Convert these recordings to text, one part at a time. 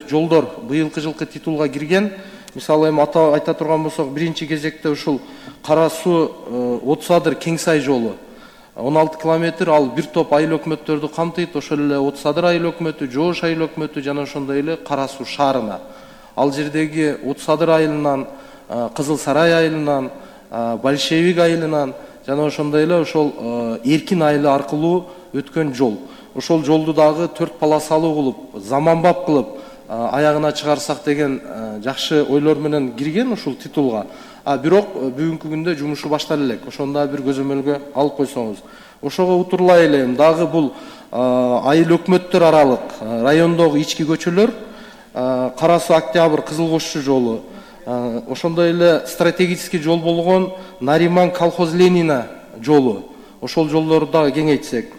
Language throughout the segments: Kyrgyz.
жолдор быйылкы жылкы титулга кирген. Мисалы эми айта турган болсок, биринчи кезекте ушул Кара Суу Отуз Адыр Кең Сай жолу 16 километр, ал бир топ айыл өкмөттөрдү камтыйт. Ошол эле Отуз Адыр айыл өкмөтү, Жоош айыл өкмөтү жана ошондой эле Кара Суу шаарына. Ал жердеги Отуз Адыр айылынан, Кызыл Сарай айылынан, Большевик айылынан жана ошондой эле ошол Эркин айылы аркылуу өткөн жол. Ошол жолду дагы 4 полосалуу кылып, заманбап кылып аягына чыгарсак деген жакшы ойлор менен кирген ушул титулга. Бирок бүгүнкү күндө жумушу баштала элек. Ошону да бир көзөмөлгө алып койсоңуз. Ошого утурлай эле дагы бул айыл өкмөттөр аралык райондогу ички көчөлөр, Кара Суу Октябрь Кызыл Кошчу жолу, ошондой эле стратегический жол болгон Нариман Колхоз Ленина жолу. Ошол жолдорду дагы кеңейтсек.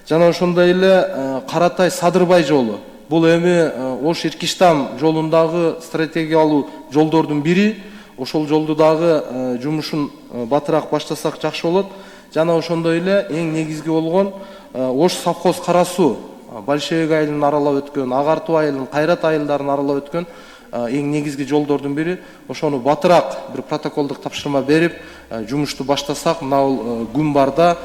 Жана ошондой эле Каратай Садырбай жолу. Бул эми Ош Иркиштам жолундагы стратегиялуу жолдордун бири. Ошол жолду дагы жумушун батыраак баштасак жакшы болот. Жана ошондой эле эң негизги болгон Ош совхоз Кара Суу Большевик айылын аралап өткөн, Агартуу айылын, Кайрат айылдарын аралап өткөн эң негизги жолдордун бири. Ошону батыраак бир протоколдук тапшырма берип, жумушту баштасак, мына күн барда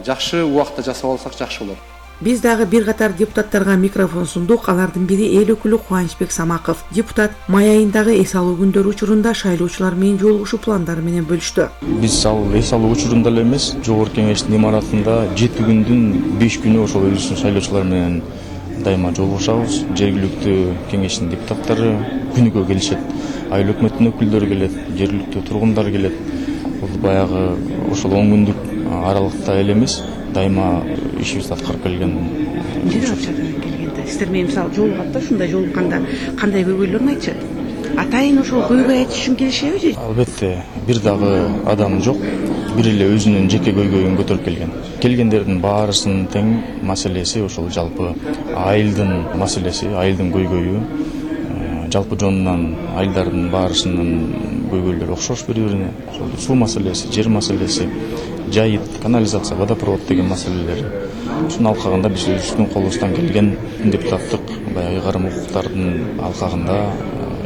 жакшы убакта жасап алсак жакшы болот. Биз дагы бир катар депутаттарга микрофон сундук. Алардын бири эл өкүлү Кубанычбек Самаков. Депутат май айындагы эс алуу күндөрү учурунда шайлоочулар менен жолугушуу пландары менен бөлүштү. Биз ал эс алуу учурунда эле эмес, жогорку кеңештин имаратында 7 күндүн 5 күнү ошол өзүбүздүн шайлоочулар менен дайыма жолугушабыз. Жергиликтүү кеңештин депутаттары күнүгө келишет. Айыл өкмөттүн өкүлдөрү келет, жергиликтүү тургундар келет. Бул баягы ошол 10 күндүк аралыкта эле эмес, дайыма ишибизди аткарып келген. Келгенде сиздер менен мисалы жолугат да, ушундай жолукканда кандай көйгөйлөрүн айтчу? Атайын ошол көйгөй айтыш үчүн келишеби же? Албетте, бир дагы адам жок, бир эле өзүнүн жеке көйгөйүн көтөрүп келген. Келгендердин баарысынын тең маселеси ошол жалпы айылдын маселеси, айылдын көйгөйү. Жалпы жонунан айылдардын баарысынын көйгөйлөрү окшош бири-бирине. Ошол суу маселеси, жер маселеси, жайыт, канализация, водопровод деген маселелер. Ушунун алкагында биз өзүбүздүн колубуздан келген депутаттык баягы ыйгарым укуктардын алкагында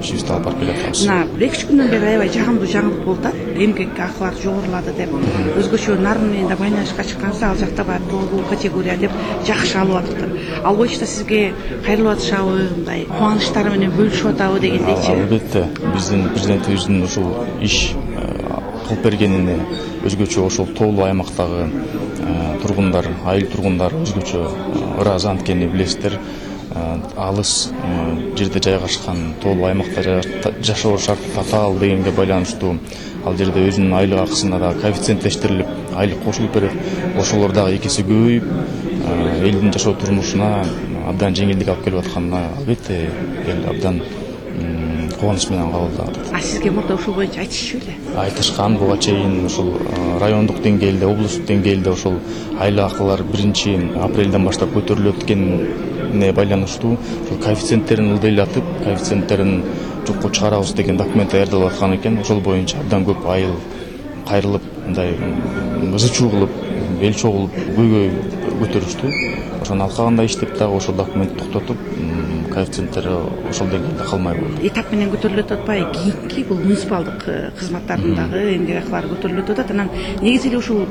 ишибизди алып барып келатабыз. Мына 2-3 күндөн бери аябай жагымдуу жаңылык болуп атат. Эмгек акылар жогорулады деп, өзгөчө нарын менен да байланышка чыкканса, ал жакта бар тобу категория деп жакшы алып атыптыр. Ал боюнча сизге кайрылып атышабы, мындай кубанычтары менен бөлүшүп атабы дегендейчи? Албетте, биздин президентибиздин ушул иш кылып бергенине өзгөчө ошол тоолуу аймактагы тургундар, айыл тургундары өзгөчө ыраазы, анткени билесиздер, алыс жерде жайгашкан, тоолуу аймакта жашоо шарты татаал дегенге байланыштуу ал жерде өзүнүн айлык акысына да коэффициенттештирилип, айлык кошулуп берет. Ошолор дагы экиси көбөйүп, элдин жашоо турмушуна абдан жеңилдик алып келип атканына албетте эл абдан кубаныч менен кабылдап атат. Сизге мурда ушул боюнча айтышчу беле? Айтышкан, буга чейин ушул райондук деңгээлде, облустук деңгээлде ошол айлык акылар 1-апрелден баштап көтөрүлүп өткөнүнө байланыштуу ошол коэффициенттерин ылдыйлатып, коэффициенттерин жокко чыгарабыз деген документ даярдалып аткан экен. Ошол боюнча абдан көп айыл кайрылып, мындай ызы-чуу кылып, бел чогулуп, көйгөй көтөрүштү. Ошонун алкагында иштеп дагы ошол документти токтотуп, коэффициенттери ошол деңгээлде калмай болду. Этап менен көтөрүлүп атпайбы? Кийинки бул муниципалдык кызматтардын дагы эмгек акылары көтөрүлүп атат. Анан негизи эле ушул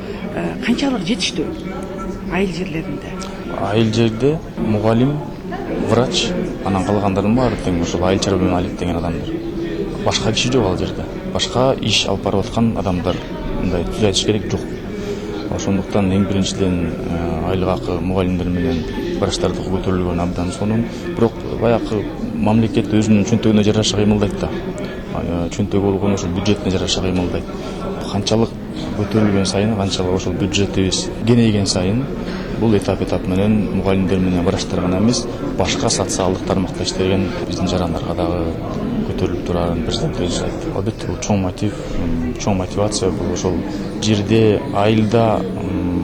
канчалык жетиштүү айыл жерлеринде? Айыл жерде мугалим, врач, анан калгандардын баары тең ошол айыл чарба менен алектенген адамдар. Башка киши жок ал жерде. Башка иш алып барып аткан адамдар, мындай түз айтыш керек, жок. Ошондуктан эң биринчиден айлык акы мугалимдер менен врачтардыкы көтөрүлгөн абдан сонун. Бирок баягы мамлекет өзүнүн чөнтөгүнө жараша кыймылдайт да. Чөнтөгү болгон ошол бюджетине жараша кыймылдайт. Канчалык көтөрүлгөн сайын, канчалык ошол бюджетибиз кеңейген сайын, бул этап менен мугалимдер менен врачтар гана эмес, башка социалдык тармакта иштеген биздин жарандарга дагы көтөрүлүп турарын президент өзү айтты. Албетте бул чоң мотив, чоң мотивация. Бул ошол жерде айылда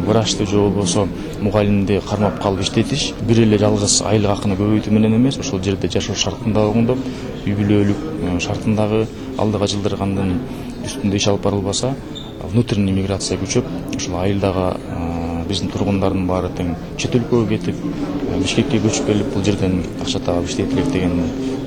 врачты же болбосо мугалимди кармап калып иштетиш бир эле жалгыз айлык акыны көбөйтүү менен эмес, ошол жерде жашоо шартын дагы оңдоп, үй бүлөлүк шартын дагы алдыга жылдыргандын үстүндө иш алып барылбаса, внутренний миграция күчөп, ошол айылдагы биздин тургундардын баары тең чет өлкөгө кетип, Бишкекке көчүп келип, бул жерден акча таап иштейт элек деген